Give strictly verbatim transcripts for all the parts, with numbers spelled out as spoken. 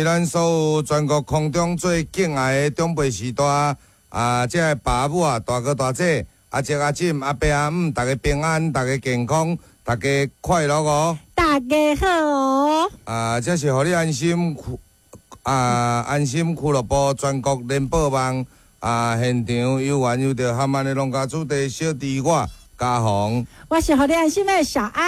咱所有全國空中最敬愛的長輩時代啊，這个爸母啊，大哥大姐、阿叔阿嬸、阿伯阿姆，大家平安，大家健康，大家快樂哦！大家好哦！啊，這是予你安心啊，安心俱樂部全國聯播網啊，現場有緣有著含安的農家子弟小弟我嘉宏，我是予你安心的小安。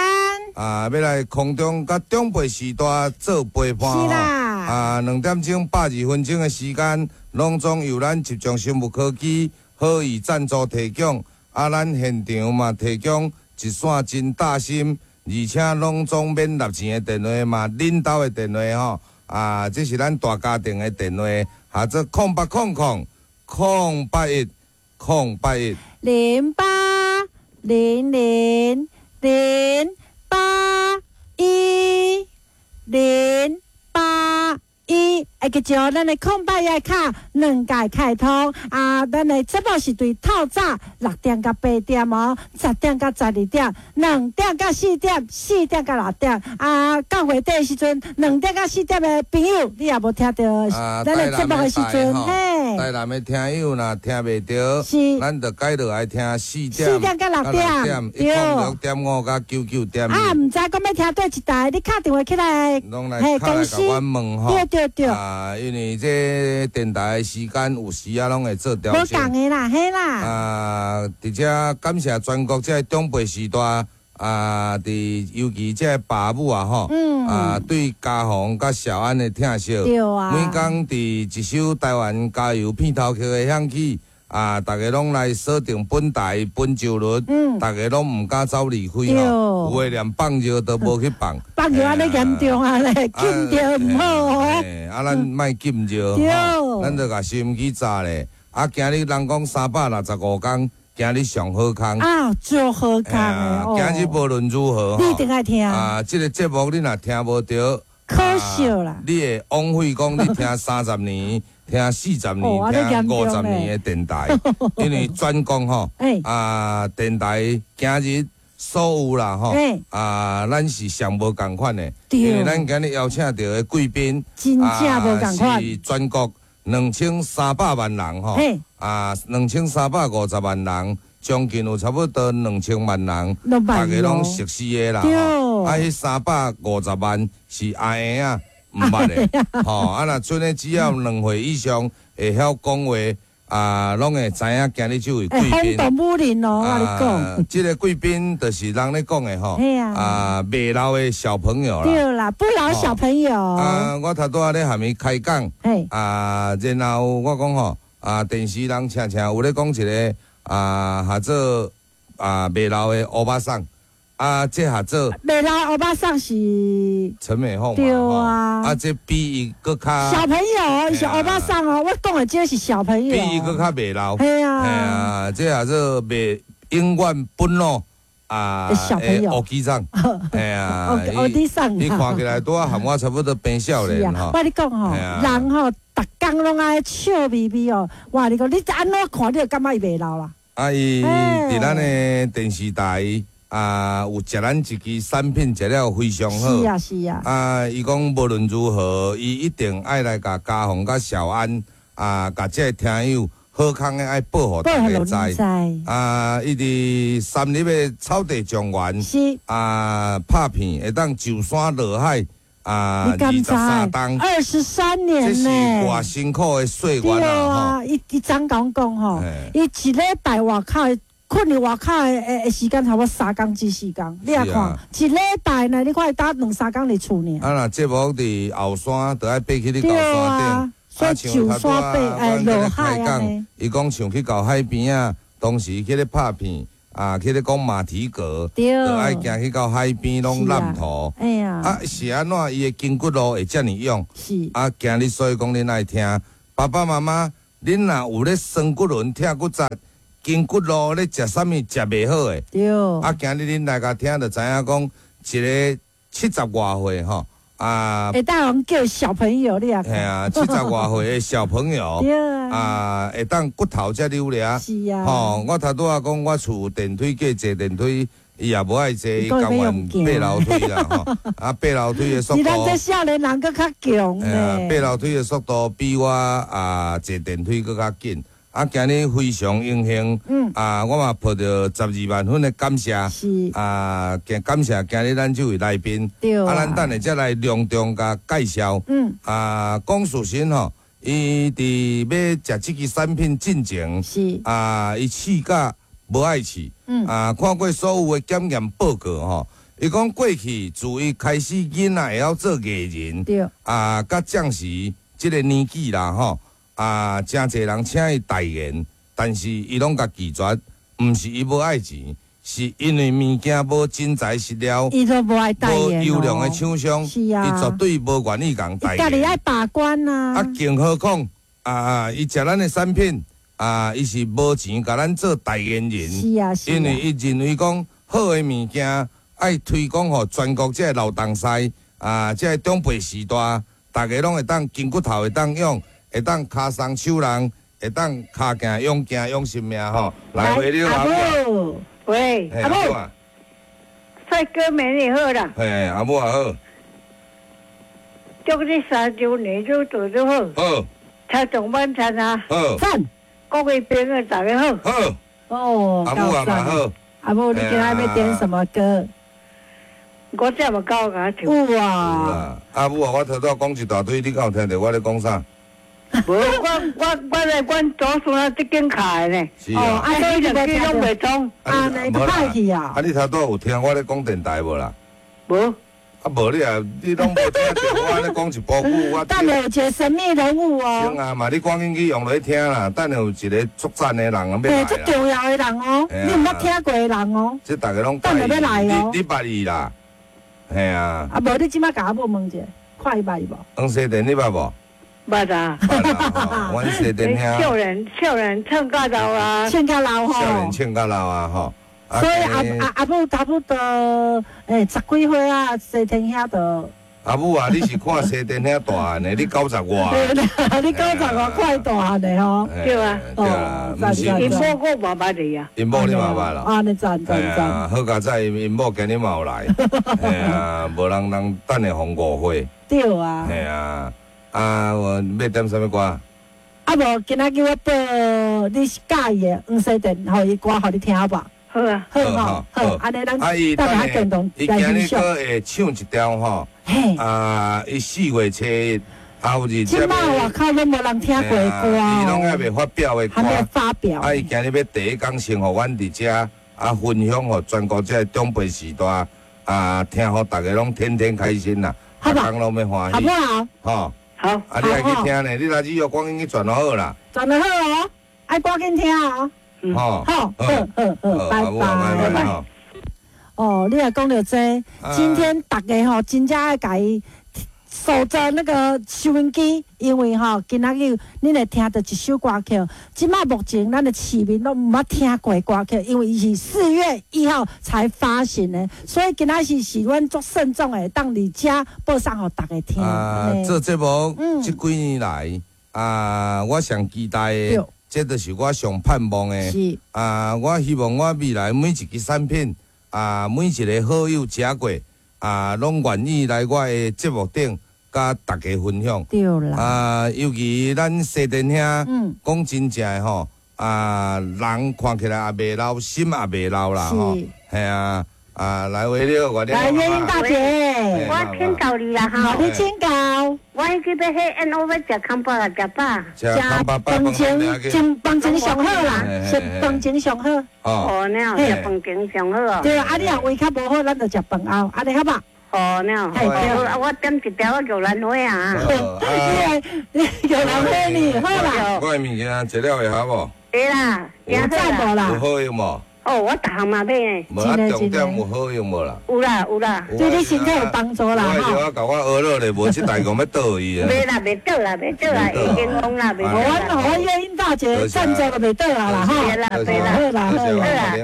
啊，欲來空中佮長輩時代做陪伴。是啦。啊，兩點鐘百二分鐘的時間，攏總由咱集中生物科技好意贊助提供。啊，咱現場嘛提供一線真貼心，而且攏總免納錢的電話嘛，恁兜的電話吼。啊，這是咱大家庭的電話，號做空八空空空八一空八一零八零零零八一零八一，會記著咱的空八一卡兩屆開通啊！咱的節目是對透早六點到八點哦，十點到十二點，兩點到四點，四點到六點啊。到月底的時陣，兩點到四點的朋友，你也無聽著咱的節目的時陣，嘿。台南的聽友若聽袂著，是，咱就改落來聽四點，四點到六點，一空六點五佮九九點。啊，毋知講欲聽佗一台，你敲電話起來，攏來敲來共阮問吼。對對對。啊，因為這電台的時間有時啊，攏會做調整。無仝的啦，嘿啦。啊，佇遮感謝全國這个長輩時代啊，佇尤其這個爸母啊吼，嗯啊，對嘉宏佮小安的疼惜。對啊。每工佇一首台灣加油片頭曲的響起，啊，逐家攏來鎖定本台本周日，嗯逐家攏毋敢走離開吼，有的連放尿都無去放。放尿按呢嚴重啊咧，禁著毋好哦。啊，咱莫禁尿，對。咱就共收音機炸咧。啊，今日人講三百六十五工，今日上好康。啊，足好康的哦。今日無論如何，你一定愛聽。啊，這个節目你若聽無著，可惜啦。你會枉費講你聽三十年、聽四十年、聽五十年的電台，因為全國吼，啊，電台今日所有啦吼，啊，咱是上無仝款的，因為咱今日邀請著的貴賓，真正無仝款，是全國兩千三百萬人吼，啊，兩千三百五十萬人，將近有差不多兩千萬人，逐家攏熟悉的啦，啊，彼三百五十萬是阿嬰仔毋捌的，吼，啊，若賰的只要兩歲以上會曉講話，啊，攏會知影今日這位貴賓。轟動武林哦，我共你講。這个貴賓就是人咧講的吼，啊，袂老的小朋友啦。對啦，不老小朋友。啊，我頭拄仔咧含伊開講，啊，然後我講吼，啊，電視人常常有咧講一个啊，號做啊袂老的歐巴桑。啊，這號做袂老歐巴桑是陳美鳳，對啊，啊，這比伊閣較小朋友，伊是歐巴桑哦，我講的這是小朋友，比伊閣較袂老，係啊，係啊，這號做袂永遠不老啊，小朋友，烏雞桑，係啊，烏雞桑，伊看起來拄仔和我差不多變少年吼。我共你講吼，人吼，逐工攏愛笑眯眯哦，我共你講，你按怎看你就感覺伊袂老啦。啊，伊佇咱的電視台。啊，有食咱一支產品食了非常好。是啊，是啊。啊，伊講無論如何，伊一定愛來共嘉宏佮小安啊，共這个聽友好康的愛報予大家知。啊，伊佇三立的草地莊園是啊，拍片會當上山落海啊，二十三冬，二十三年這是偌辛苦的歲月啊！吼，伊伊怎講講吼？伊一禮拜外口。睏佇外口的的時間差不多三工至四工，你也看一禮拜呢？你看伊焦兩三工佇厝爾。啊，若節目佇後山，就愛爬去你高山頂。所以上山爬哎落海按呢。伊講像去到海邊仔，當時去咧拍片啊，去咧講馬蹄閣，就愛行去到海邊攏爛塗。哎呀，啊是按怎伊的筋骨路會遮爾勇？是啊，今日所以講恁愛聽，爸爸媽媽，恁若有咧酸骨輪、疼骨節。筋骨路咧食啥物食袂好的，對。啊，今日恁來共聽，就知影講一个七十外歲吼，啊，會當叫小朋友你也。係啊，七十外歲的小朋友，對啊，啊，會當骨頭遮溜掠。是啊。吼，我頭拄仔講，我厝電梯過坐電梯，伊也無愛坐，伊甘願爬樓梯啦吼。啊，爬樓梯的速度，是咱這少年人閣較強呢。爬樓梯的速度比我啊坐電梯閣較緊。啊，今日非常榮幸，嗯啊，我嘛抱著十二萬分的感謝，是啊，感謝今日咱這位來賓，對啊，咱等下才來隆重共介紹，嗯，啊，講事實吼，伊佇欲食這支產品進前，是啊，伊試甲無愛試，嗯啊，看過所有的檢驗報告吼，伊講過去自伊開始囡仔會曉做藝人，對，啊，佮將時這個年紀啦吼。啊，誠濟人請伊代言，但是伊攏共拒絕，毋是伊無愛錢，是因為物件無真材實料，伊都無愛代言，無優良的廠商，是啊，伊絕對無願意共代言。伊家己愛把關啊。啊，更何況啊，伊食咱的產品啊，伊是無錢共咱做代言人，是啊，是啊。因為伊認為講好的物件愛推廣予全國這个老東西啊，這个長輩時代，逐家攏會當筋骨頭會當用。會當跤鬆手人，會當跤行勇行勇性命吼。來，喂，阿母，喂，阿母，帥哥美女好啦。嘿，阿母也好。祝你三周年愈做愈好。好。聽眾晚餐啊。好。讚。各位朋友大家好。好。哦，阿母也嘛好。阿母，你今仔欲點什麼歌？我這麼高共唱。有啊。阿母啊，我頭拄仔講一大堆，你敢有聽著我咧講啥？無，我我我來阮祖孫啊，這間卡的呢。是啊。啊，所以兩機攏袂通。啊，你都歹去啊。啊，你頭拄有聽我咧講電台無啦？無。啊，無你啊，你攏無聽著我按呢講一部久，我。等下有一個神秘人物哦。先啊嘛，你趕緊去用落去聽啦。等下有一個足讚的人欲來。對，足重要的人哦，你毋捌聽過的人哦。這逐家攏。等下欲來哦。你你捌伊啦？嘿啊。啊，無你這擺共阿母問一下，看伊捌伊無？黃西電你捌無？捌啊！阮西電兄。少年少年唱甲老啊，唱甲老吼。少年唱甲老啊吼。所以阿阿阿母差不多欸十幾歲啊，西天兄就。阿母啊，你是看西天兄大漢的，你九十外。你九十外看伊大漢的吼。對啊。對啊，毋是。𪜶某我嘛捌你啊。𪜶某你嘛捌啦。啊，你讚讚讚。好佳哉，𪜶某今日嘛有來。嘿啊，無人人等下予誤會。對啊。嘿啊。啊，我欲點啥物歌？啊無，今仔叫我播你喜歡的黃西電，予伊歌予你聽好無？好啊，好吼，好，按呢咱大家共同伊今日閣會唱一條吼，啊，伊四月初一，啊有日。這擺外口攏無人聽過的歌。伊攏猶未發表的歌。還沒發表。啊，伊今日欲第一工先予阮佇遮啊分享予全國這个長輩時代啊，聽予逐家攏天天開心啦，逐工攏欲歡喜。好不好？吼。好，啊，你愛去聽呢？你來只要趕緊去轉好啦。轉得好哦，愛趕緊聽哦。好，好，好，好，好，拜拜，拜拜。哦，你若講著這，今天逐家吼真正愛共伊守著那個收音機，因為吼今仔日恁會聽著一首歌曲。這擺目前咱的市民攏毋捌聽過歌曲，因為伊是四月一號才發行的，所以今仔日是阮足慎重的，當佇遮播送予逐家聽。啊，做節目這幾年來啊，我上期待的，這就是我上盼望的。是啊，我希望我未來每一支產品啊，每一個好友食過啊，攏願意來我的節目頂。佮逐家分享。對啦。啊，尤其咱西電兄，講真正的吼，啊，人看起來也袂老，心也袂老啦吼。係啊，啊，來喂你，我來月英大姐，我請教你啦哈。你請教。我去欲彼 N O 欲食空腹啊，食飽。食飯前，前飯前上好啦，食飯前上好。哦，那樣食飯前上好哦。對啊，你若胃較無好，咱就食飯後，按呢好無？哦，那樣，我點一條玉蘭花啊。你玉蘭花呢？好啦。我的物件食了會合無？會啦，有讚無啦？有好用無？哦，我逐項嘛買呢。無啊，重點有好用無啦？有啦有啦，對你身體有幫助啦。我我共我學落咧，無這代講欲倒伊啊。袂啦，袂倒啦，袂倒啦，已經講啦，袂倒啦。我我月英大姐贊助就袂倒啊啦，吼。對啦對啦，好啦好啦好啦，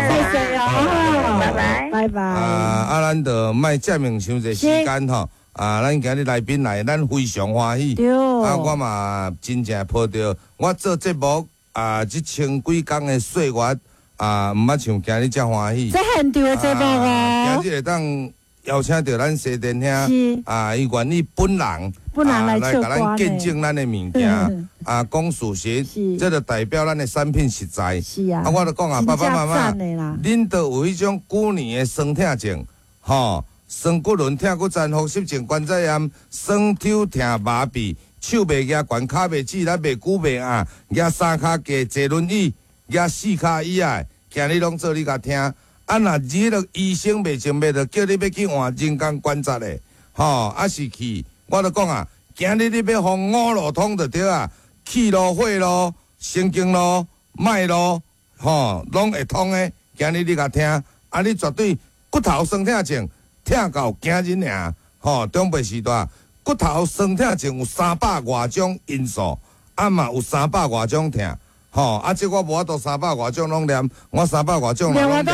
謝謝哦，拜拜拜拜。啊啊，咱就莫佔用傷濟時間吼。啊，咱今日來賓來，咱非常歡喜。對。啊，我嘛真正抱著我做節目啊，這千幾工的歲月。啊，毋捌像今日遮歡喜。這現場的節目哦。啊，今日會當邀請著咱西田兄，啊，伊願意本人，本人來來共咱見證咱的物件，啊，講事實，這就代表咱的產品實在。是啊。啊，我就講啊，爸爸媽媽，恁都有彼種舊年的酸痛症，吼，酸骨輪、痛骨針、風濕症、關節炎、酸抽疼、麻痹、手袂舉懸、跤袂直、力袂久袂硬，舉三跤架坐輪椅，舉四跤椅仔，今日攏做你共聽。啊，若彼个醫生袂靜脈，就叫你欲去換人工關節的，吼，啊是去，我就講啊，今日你欲予五路通就對啊，氣路、血路、神經路、脈路，吼，攏會通的。今日你共聽，啊，你絕對骨頭酸痛症疼到今日爾，吼，長輩時代骨頭酸痛症有三百外種因素，啊嘛有三百外種疼。吼，啊！這我無法度三百外種攏念，我三百外種攏念完，這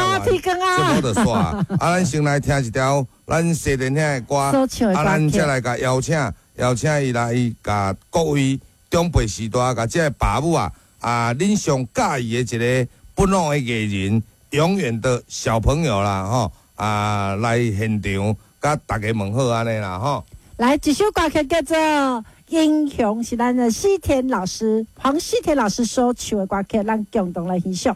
無就煞。啊，咱先來聽一條咱西田兄的歌，啊，咱才來共邀請，邀請伊來共各位長輩時代，共這个爸母啊，啊，恁上佮意的一個本土的藝人，永遠的小朋友啦，吼，啊，來現場共大家問好按呢啦，吼。來，這首歌曲叫做《英雄》，是咱的西田老師黃西田老師所唱的歌曲，咱共同來欣賞。